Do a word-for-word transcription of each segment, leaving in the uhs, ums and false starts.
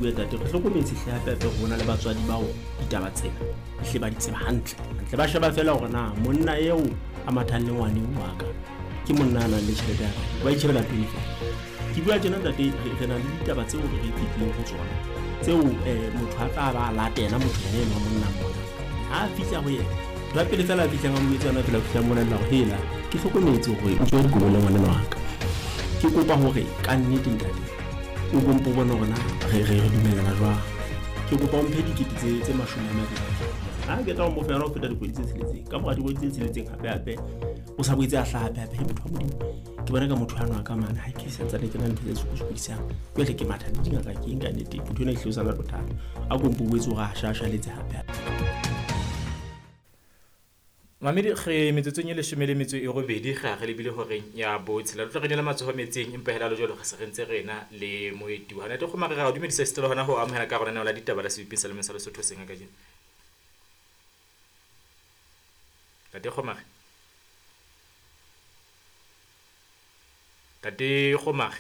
bue tate, re hlokometse hle hape hape hore ho na le batswadi bao ditaba tsena ehle ba di tseba hantle hantle. Ba sheba feela hore na monna eo a mathang le ngwane wa ka ke monna a nang le tjhelete ya kae, ba itjhebela pele feela. Ke bua tjena ntate, re na le ditaba tseo re fetileng ho tsona tseo um motho a tla ba latela motho yena enwa monna mona. Ha a fihla ho yena, ntho ya pele feela a fihlang a mo etsa yona fela, o fihla a mmolella hore hela ke hlokometse hore o tswa dikobo le ngwanenwa wa ka. Ke kopa hore ka nnete ntate o kompo bone hore na re re re dumellana jwang. Ke kopa o mphe dikete tse tse mashome a mabedi. Ha ke tla ho mo fa yona ho feta dikgwedi tse tsheletseng. Ka mora dikgwedi tse tsheletseng hape hape o sa boetse a hlaha hape hape. Motho wa Modimo, ke bona ka motho ano a ka mane ha ke santsane ke na le ntho tse sokodisang. Jwale ke matha le dingaka ke eng ka nnete, motho ena ehlile o sa na le bothata. A kompo boetse hore a shashaletse hape hape. Mamedi re metsotsong e leshome le metso e robedi re a re lebile horeng ya botshela. Re tlo re nela matsoho metsing empa hela le jwalo re se re ntse re ena le moeti wa Ntate Kgomare. Re a o dumedisa esita le hona ho amohela ka hara lenaneo la ditaba la Sebupi sa Lemeng sa Lesotho seng kajeno. Ntate Kgomare. Ntate Kgomare.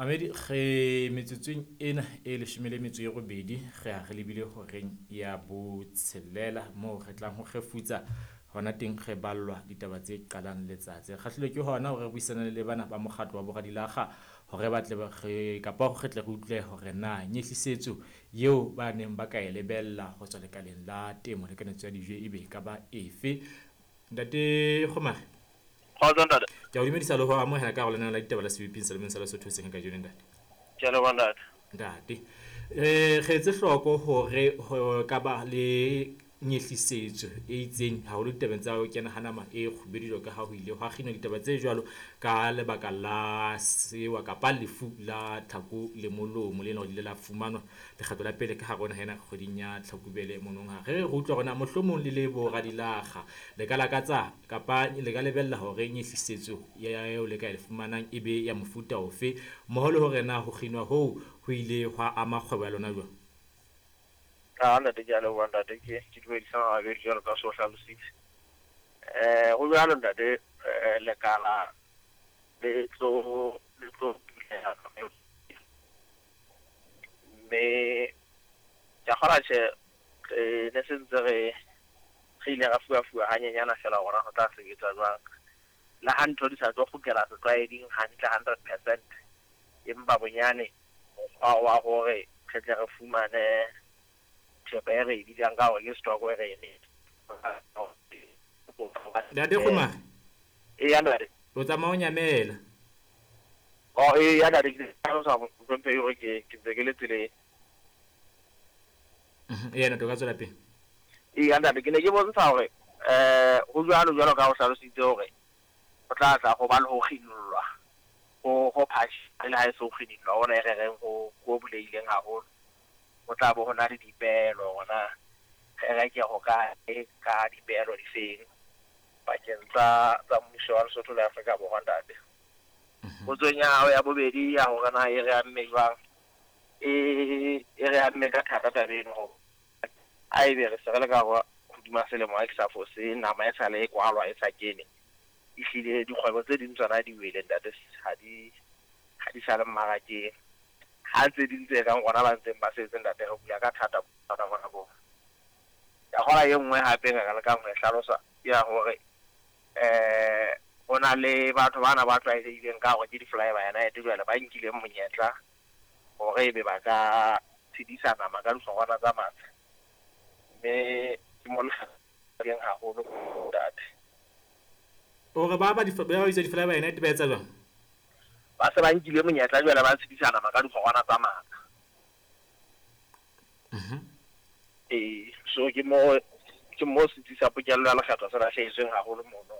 Mamedi re metsotsong ena e leshome le metso e robedi re a re lebile horeng ya botshelela moo re tlang ho kgefutsa hona teng re ballwa ditaba tse qalang letsatsi. Re kgahlilwe ke hona hore re buisane le bana ba mokgatlo wa Boradilakga hore ba tle ba re kapa hore re tle re utlwe hore na nyehlisetso eo ba neng ba ka e lebella ho tswa lekaleng la temo le kanetso ya dijo ebe e ka ba efe. Ntate Kgomare. Kgotso ntate. Ke a o dumedisa le ho amohela ka hare ho lenaneo la ditaba la Sebupi sa Lemeng sa Lesotho seng kajeno ntate. Ke a leboha ntate. Ntate, eh re etse hloko hore ho ka ba le nyehlisetso e itseng haholo ditabeng tsa ho kena ha nama e kgubedu jwalo ka ha ho ile hwa kginwa ditaba tse jwalo ka lebaka la sewa kapa lefu la tlhako le molomo le leng hore le ile la fumanwa lekgetlo la pele ka hare ho naha ena kgweding ya Tlhakubele monongwaha. Re re utlwa hore na mohlomong le le boradilakga le ka lakatsa kapa le ka lebella hore nyehlisetso eo le ka e fumanang e be ya mofuta ofe, mmoho le hore na ho kginwa hoo ho ile hwa ama kgwebo ya lona jwang. Ah, ntate ke a leboha ntate, ke ke dumedisa mabedi jwalo ka so hlalositse. Eh ho jwalo ntate, eh lekala le tlo le tlo buleha mme ke a kgolwa tjhe, re ne se ntse re re ile ra fuwa-fuwa hanyenyana feela hore ho tla sebetsa jwang. Le ha ntho di sa tlo kgutlela setlwaeding hantle hundred percent, empa bonyane mokgwa wa hore re tle re fumane thepa e re e bitsang ka hore ke stock e re e Ntate Kgomare. Eya ntate. O tsamaya o nyamela. Oh eya ntate, ke hlalosa mohlomphehi hore ke ke ntse ke le tseleng. Eya ntate, o ka tswela pele. Eya ntate, ke ne ke bontsha hore eh ho jwalo jwalo ka ho hlalositse hore ho tla tla ho ba le ho kginollwa ho ho phasha le ha e se ho kginollwa ona e re reng ho ho bulehileng haholo. Ho tla bo ho na le dipehelo hore na re reke ho kae ka dipehelo difeng pakeng tsa tsa mmuso wa Lesotho le Afrika Borwa ntate. Potsong ya hao ya bobedi ya hore na e re amme jwang, e e re amme ka thata taba eno hore ha ebe re se re le ka hara hodima selemo ha ke sa fose, nama e sale e kwalwa e sa kene. Ehlile dikgwebo tse ding tsona di wele ntate, ha di ha di sa le mmarakeng. Ha tse ding tse kang rona ba ntseng ba setse ntate re bula ka thata bothata bona bo. Ka kgola e nngwe hape re ka lekang ho e hlalosa ke ya hore eh ho na le batho bana ba tlwaelehileng ka hore ke di-fly by night jwale ba nkileng monyetla hore ebe ba ka tshedisa nama ka dihlongwana tsa matsha. Mme ke mo leng haholo ntate. Hore ba ba di ba bitsa di-fly by night ba etsa jwang? Ba se ba nkile monyetla jwale ba tshedisa nama ka dihlongwana tsa matsha. Mhm. Eh so ke mo ke mo setsi sa pokello ya lekgetho se lahlehetsweng haholo mono.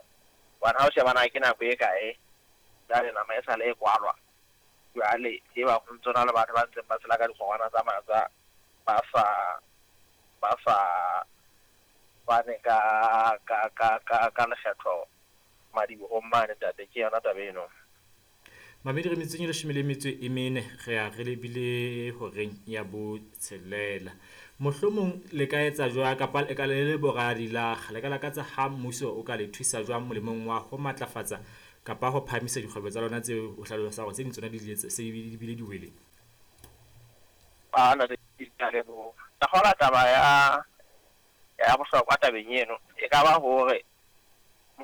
Hobane ha o sheba na ke nako e kae jwale nama e sale e kwalwa. Jwale e ba ho ntso na le batho ba ntseng ba tshela ka dikgongwana tsa matsa ba sa ba sa fane ka ka ka ka ka lekgetho madibohong mane ntate, ke yona taba eno. Mamedi re metsong e leshome le metso e mene re a re lebile horeng ya botshelela. Mohlomong le ka etsa jwang kapa le ka le le boradilakga le ka lakatsa ha mmuso o ka le thusa jwang molemong wa ho matlafatsa kapa ho phahamisa dikgwebo tsa lona tseo o hlalosang hore tse ding tsona di ile se di bile di wele? A ntate ke a leboha. Ka kgola taba ya ya bohlokwa tabeng eno e ka ba hore